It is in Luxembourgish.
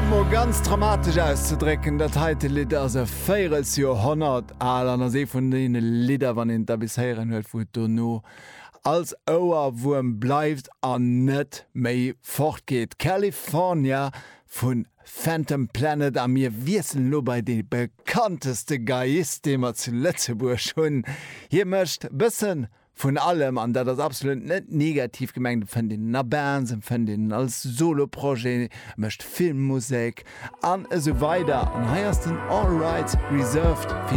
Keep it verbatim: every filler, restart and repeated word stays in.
et mol ganz dramatesch auszedrécken, dat heite Lidd ass e Véierelsjoerhonnert al an ass ee vun deene Lidder, wann een et da bis héieren huet, wou et dono als Ouerwuerm bleift an net méi fortgeet. California vu Phantom Planet a mir wiesselen elo bei dee bekannteste Geiist, dee mer zu Lëtzebuerg hunn. Hie mécht bëssen vun allem, an dat ass absolut net negativ gemengt, et fënnt een en a Bands, et fënnt een en als Soloprojet, e mécht Filmmusek an esou weider. An hei ass den All Rights Reserved fir.